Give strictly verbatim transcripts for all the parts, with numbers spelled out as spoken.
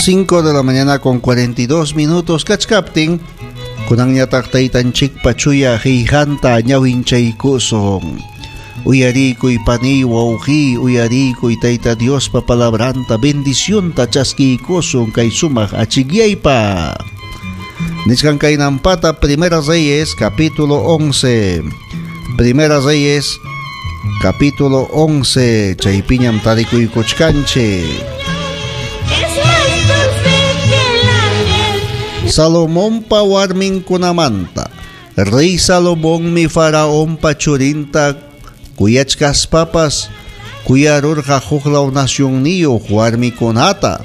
Son cinco de la mañana con cuarenta y dos minutos kachkaptin, kunanñataq taytanchikpa chuya qillqanta ñawinchaykusun. Uyarikuy, paniy, wawqiy, uyarikuy Tayta Diospa palabranta, bendicionta chaskiykusun kay sumaq achikyaypa. Nichkan kaynampata Primera Reyes capítulo once. Primera Reyes capítulo once, chaypiñam tarikuykuchkanchik. Es más dulce que la miel. Salomonpa warminkunamanta. Rey Salomonmi faraonpa churinta kuyachkaspapas kuyarurqa huklaw nacionniyuq warmikunata.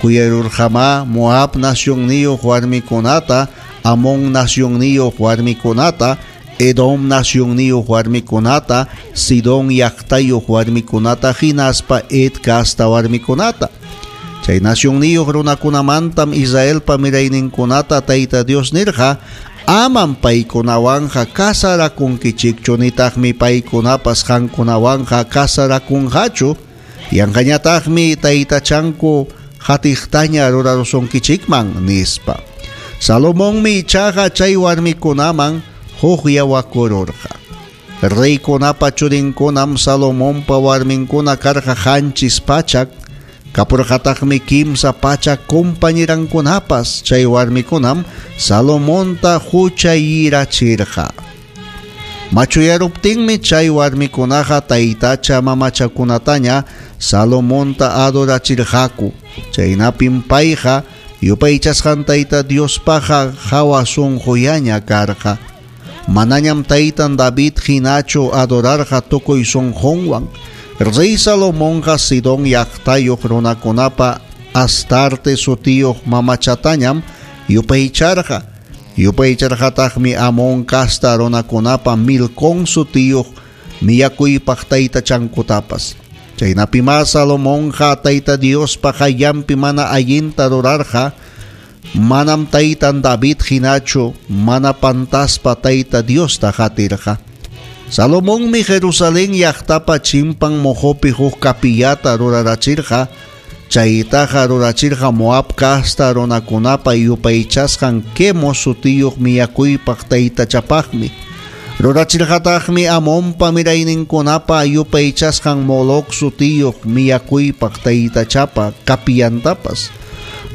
Kuyarurqamá Moab nacionniyuq warmikunata, Amón nacionniyuq warmikunata, Edom nacionniyuq warmikunata, Sidón llaqtayuq warmikunata hinaspa Het casta warmikunata. Chay nacionniyuq runakunamantam Israelpa mirayninkunata Tayta Dios nirqa: "Amam paykunawanqa casarakunkichikchu, nitaqmi paykunapas qamkunawanqa casarakunqachu, yanqañataqmi taytachanku qatiqtaña rurarusunkichikman", nispa. Salomonmi ichaqa chay warmikunaman hukllawakururqa. Reykunapa churinkunam Salomonpa warminkuna karqa qanchis pachak, kapurqataqmi kimsa pachak compañerankunapas. Chay warmikunam Salomonta huchayirachirqa. Machuyaruptinmi chay warmikunaqa taytacha mamachakunataña Salomonta adorachirqaku. Chaynapim payqa yupaychasqan Tayta Diospaqa hawa sunqullaña karqa. Manañam taytan David hinachu adorarqa tukuy sunqunwan. Rey Salomonqa Sidón llaqtayuq runakunapa Astarte sutiyuq mamachatañam yupaycharqa. Yupaycharqataqmi Amón casta runakunapa Milcón sutiyuq millakuypaq taytachankutapas. Chaynapimá Salomonqa Tayta Diospa qayllanpi mana allinta rurarqa, manam taytan David hinachu mana pantaspa Tayta Diosta qatirqa. Salomonmi Jerusalén llaqtapa chimpan moqopi huk kapillata rurarachirqa, chaytaqa rurachirqa Moab casta runakunapa yupaychasqan Quemos sutiyuq millakuypaq taytachapaqmi. Rurachirqataqmi Amonpa mirayninkunapa yupaychasqan Moloc sutiyuq millakuypaq taytachapa kapillantapas.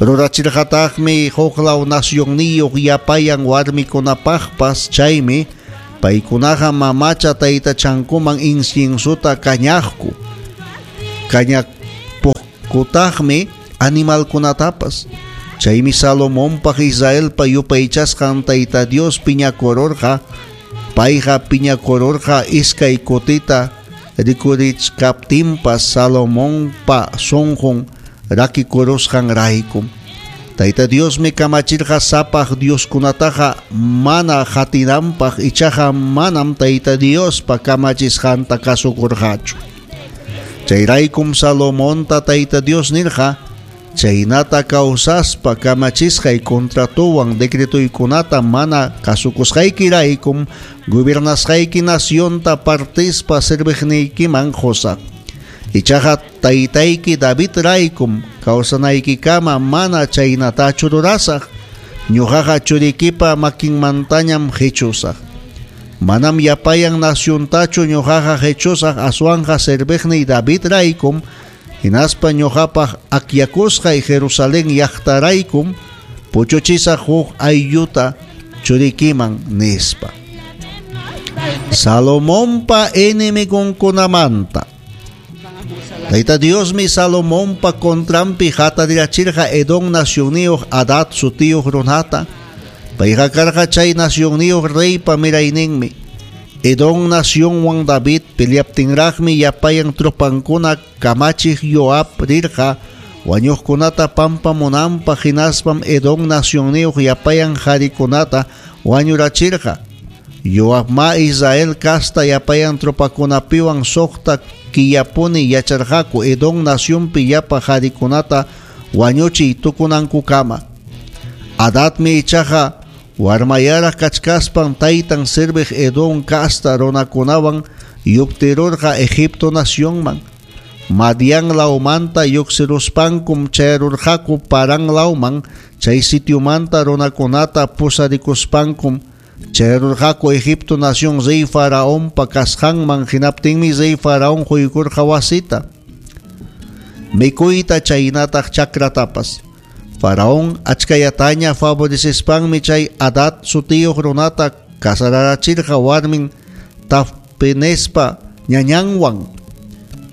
Rurachirqataqmi huklaw nacionniyuq yapayan warmikunapaqpas, chaymi paykunaqa mamacha taytachankuman inciensuta kañaqku. Kañapuqkutaqmi animalkunatapas. Chaymi Salomonpaq Israelpa yupaychasqan Tayta Dios piñakururqa. Payqa piñakururqa iskay kutita rikurichkaptinpas Salomonpa sunqun rakikurusqanraykum. Tayta Diosmi kamachirqa sapaq Dioskunataqa mana qatinanpaq, ichaqa manam Tayta Diospa kamachisqanta kasukurqachu. Chayraykum Salomonta Tayta Dios nirqa: "Chaynata kawsaspa kamachisqay contratowan decretoykunata mana kasukusqaykiraykum gobernasqayki nacionta partispa serviqniykiman qusaq. Ichaqa taytayki Davidraykum kawsanaykikama mana chaynatachu rurasaq. Ñuqaqa churikipa makinmantañam qichusaq. Manam yapayan naciontachu ñuqaqa qichusaq, aswanqa serviqniy Davidraykum hinaspa ñuqapaq akllakusqay Jerusalén llaqtaraykum puchuchisaq huk aylluta churikiman", nispa. Salomonpa enemigonkunamanta. Tayta Diosmi Salomonpa contranpi hatarirachirqa Edom nacionniyuq Hadad sutiyuq runata. Payqa karqa chay nacionniyuq reypa mirayninmi. Edom nacionwan David peleaptinraqmi yapayan tropankuna kamachiq Joab rirqa wañuqkunata pampamunanpaq, hinaspam Edom nacionniyuq yapayan qarikunata wañurachirqa. Joabma Israel casta yapayan tropakunapiwan suqta killapuni yacharqaku Edom nacionpi llapa qarikunata wañuchiy tukunankukama. Hadadmi ichaqa warmayaraq kachkaspan taytan serviq Edom casta runakunawan lluptirurqa Egipto nacionman. Madian lawmanta lluqsiruspankum chayarurqaku Paran lawman, chay sitiomanta runakunata pusarikuspankum chayarurqaku Egipto nación rey Faraonpa kasqanman. Hinaptinmi rey Faraón quykurqa wasita, mikuyta chaynataq chakratapas. Faraón achkayataña favorecespanmi chay Hadad sutiyuq runata casararachirqa warmin Tafpenespa ñañanwan.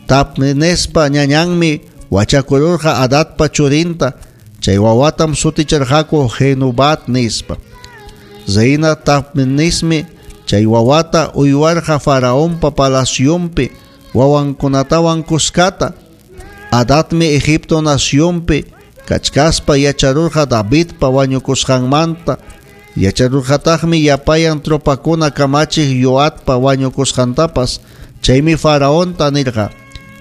Tafpenespa ñañanmi wachakururqa Hadadpa churinta, chay wawatam suticharqaku Genubat nispa. Reina Tafpenesmi chay wawata uywarqa Faraonpa palacionpi wawankunatawan kuskata. Hadadmi Egipto nacionpi kachkaspa yacharurqa Davidpa wañukusqanmanta, yacharurqataqmi yapayan tropakuna kamachiq Joabpa wañukusqantapas. Chaymi Faraonta nirqa: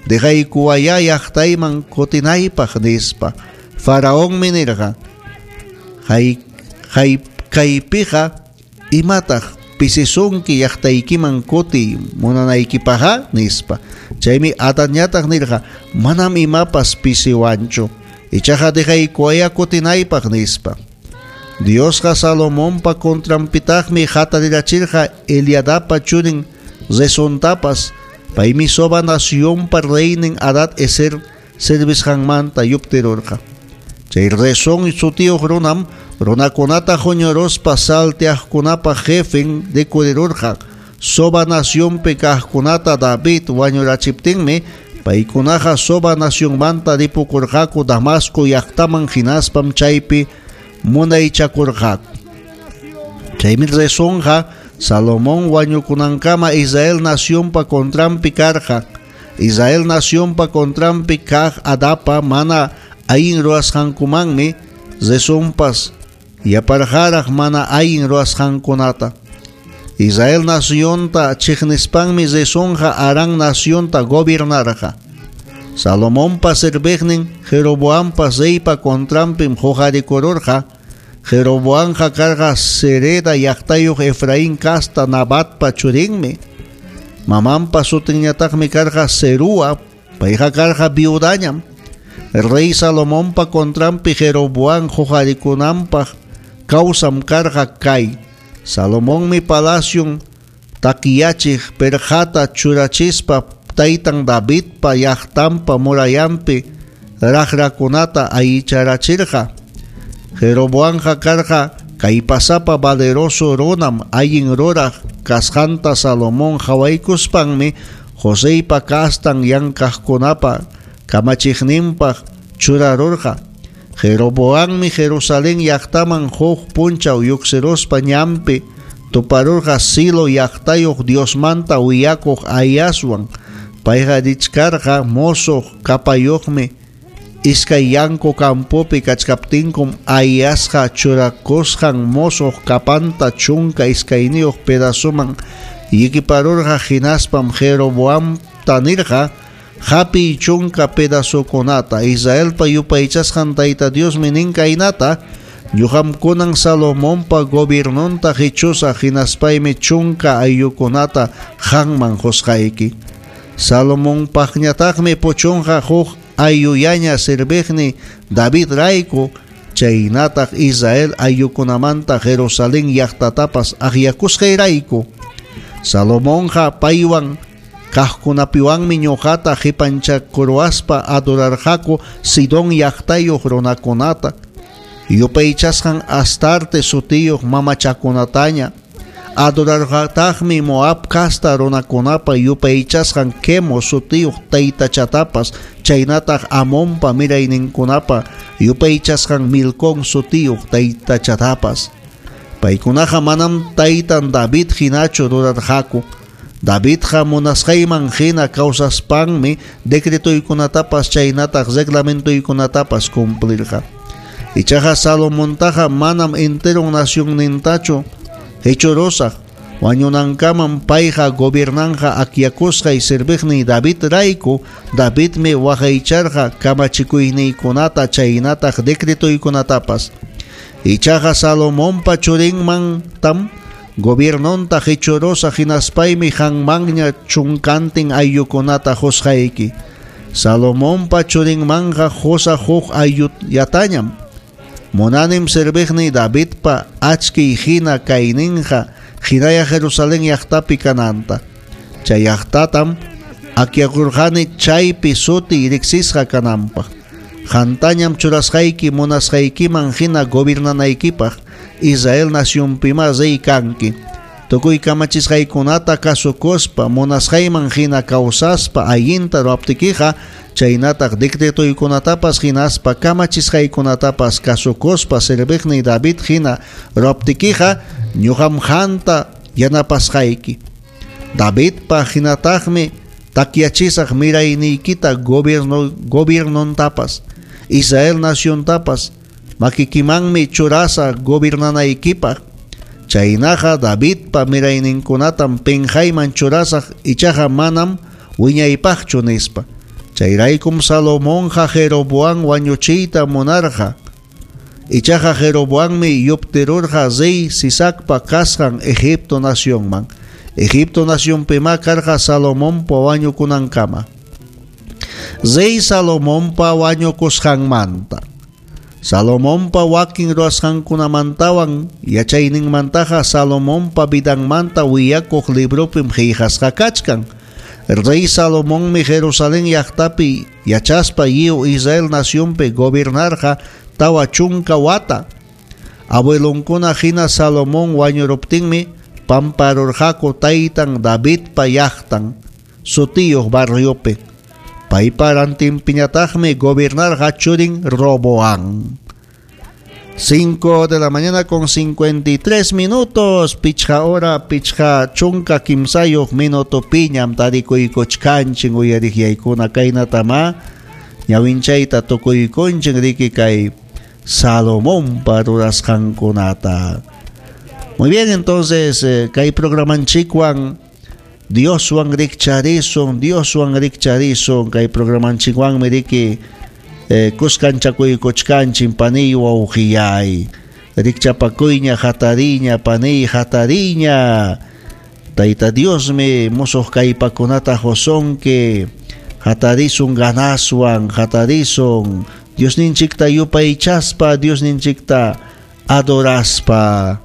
"Dejaykuwaya llaqtayman kutinaypaq", nispa. Faraonmi nirqa: "Hay hay kaypiqa imataq pisisunki llaqtaykiman kutiy munanaykipaqqa?" nispa. Chaymi Hadadñataq nirqa: "Manam imapas pisiwanchu, ichaqa dejaykuwaya kutinaypaq", nispa. Diosqa Salomonpa contranpitaqmi hatarirachirqa Eliadapa churin Rezontapas. Paymi Soba nacionpa reynin Hadad Ezer servisqanmanta yuptirurqa. Chay Rezón sutiyuq runam runakunata huñuruspa salteaqkunapa jefen rikurirurqa. Soba nacionpi kaqkunata David wañurachiptinmi paykunaqa Soba nacionmanta ripukurqaku Damasco llaqtaman, hinaspam chaypi munaychakurqaku. Chaymi Rezonqa Salomón wañukunankama Israel nacionpa contranpi karqa. Israel nacionpa contranpi kaq Hadadpa mana allin ruwasqankumanmi Rezonpas yaparqaraq mana allin ruwasqankunata. Israel nacionta chiqnispanmi Rezonqa Aram nacionta gobernarqa. Salomonpa serviqnin Jeroboampa reypa contranpim huqarikururqa. Jeroboamqa karqa Sereda llaqtayuq Efraín casta Nabatpa churinmi. Mamanpa sutinñataqmi karqa Serúa, payqa karqa viudañam. Rey Salomonpa contranpi Jeroboam huqarikunanpaq kawsam karqa kay: Salomonmi palacion takiyachiq perqata churachispa taytan Davidpa llaqtanpa murallanpi raqrakunata allicharachirqa. Jeroboamqa karqa kallpasapa valeroso runam. Allin ruraq kasqanta Salomón qawaykuspanmi Joseypa kastan llankaqkunapa kamachiqninpaq churarurqa. Jeroboammi Jerusalén llaqtaman huk punchaw lluqsiruspa ñanpi tuparurqa Silo llaqtayuq Diosmanta willakuq Ahiaswan. Payqa richkarqa mosoq kapayuqmi. Iskay yanku campopi kachkaptinkum Ahiasqa churakusqan mosoq kapanta chunka iskayniyuq pedazoman llikiparurqa. Hinaspam Jeroboamta nirqa: "Hapiy chunka pedazokunata. Israelpa yupaychasqan Tayta Diosmi nin kaynata: Ñuqam kunan Salomonpa gobiernonta qichusaq, hinaspaymi chunka ayllukunata qamman qusqayki. Salomonpaqñataqmi puchunqa huk ayllullaña serviqni David rayku, chaynataq Israel ayllukunamanta Jerusalén llaqtatapas akllakusqayrayku. Salomonqa paywan kaqkunapiwanmi ñuqata qipanchakurwaspa adorarqaku Sidón llaqtayuq runakunata, yupaychasqan Astarte sutiyuq mamachakunataña. Adorarqataqmi Moab casta runakunapa yupaychasqan Quemos sutiyuq taytachatapas, chaynataq Amonpa mirayninkunapa yupaychasqan Milcón sutiyuq taytachatapas. Paykunaqa manam taytan David hinachu rurarqaku. Davidqa munasqayman hina kawsaspanmi decretoykunatapas chaynataq reglamentoykunatapas cumplirqa. Ichaqa Salomontaqa manam enteron nacionnintachu hechurusaq. Wañunankamam payqa gobiernanqa akllakusqay serviqniy David rayku. Davidmi waqaycharqa kamachikuyniykunata chaynataq decretoykunatapas. Ichaqa Salomonpa churinmantam gobiernonta qichurusaq, hinaspaymi qanmanña chunkantin ayllukunata qusqayki. Salomonpa churinmanqa qusaq huk aylluyatañam. Munanim serviqniy Davidpa achkiy hina kayninqa hinaya Jerusalén llaqtapi kananta. Chay llaqtatam akyakurqani chaypi suti riqsisqa kananpaq. Qantañam churasqayki munasqaykiman hina gobernanaykipaq Israel nacionpima rey kanki. Tukuy kamachisqaykunata kasukuspa munasqayman hina kawsaspa allinta ruwaptikiqa chaynataq decretoykunatapas hinaspa kamachisqaykunatapas kasukuspa serviqniy David hina ruwaptikiqa ñuqam qanta yanapasqayki. Davidpa hinataqmi takyachisaq mirayniykita gobierno gobiernontapas Israel naciontapas makikimanmi churasaq gobernanaykipaq. Chaynaqa Davidpa mirayninkunatam pinqayman churasaq ichaqa manam wiñaypaqchu nispa. Chayraykum Salomonqa Jeroboam wañuchiyta munarqa. Ichaqa Jeroboammi yuptirurqa rey Sisacpa kasqan Egipto nacionman. Egipto nacionpima karqa Salomonpa wañukunankama. Rey Salomonpa wañukusqanmanta. Salomonpa wakin ruwasqankunamantawan yachayninmantaqa Salomonpa vidanmanta willakuq libropim qillqasqa kachkan. Rey Salomonmi Jerusalén llaqtapi yachaspa lliw Israel nacionpi gobernarqa tawa chunka wata. Abuelonkuna hina Salomón wañuruptinmi pamparurqaku taytan Davidpa llaqtan sutiyuq barriopi. Paypa rantinpiñataqmi gobernarqa churin Roboam. Cinco de la mañana con cincuenta y tres minutos, pichqa hora, pichqa chunka kimsayuq minuto piñam tarikuykuchkanchin uyariqyaykuna kaynatama ñawinchayta tukuykunchin riki kay Salomonpa rurasqankunata. Muy bien, entonces eh, kay programanchikwan Dioswan rikcharisun, Dioswan rikcharisun, kay programanchikwanmi riki eh, kuskanchakuykuchkanchin paniy wawqiyay. Rikchapakuyña hatariña paniy hatariña. Tayta Diosmi musuq kaypakunata qusunki. Hatarisun ganaswan, hatarisun Diosninchikta yupaychaspa, Diosninchikta adoraspa.